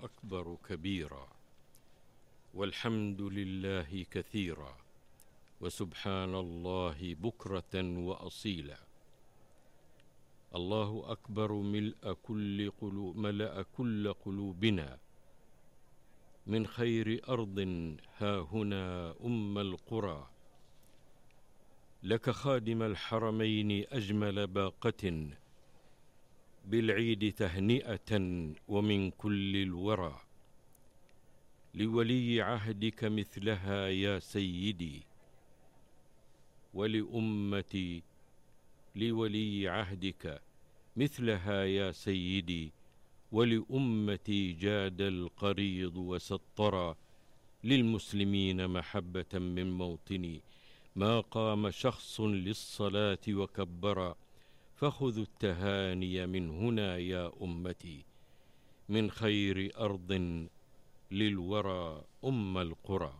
أكبر كبيرا، والحمد لله كثيرا، وسبحان الله بكرة وأصيلا. الله أكبر ملأ كل قلوبنا من خير أرض هاهنا القرى. لك خادم الحرمين أجمل باقة بالعيد تهنئة ومن كل الورى. لولي عهدك مثلها يا سيدي، لولي عهدك مثلها يا سيدي، ولأمتي جاد القريض وسطرا. للمسلمين محبة من موطني، ما قام شخص للصلاة وكبرا. فخذوا التهاني من هنا يا أمتي، من خير أرض للورى القرى.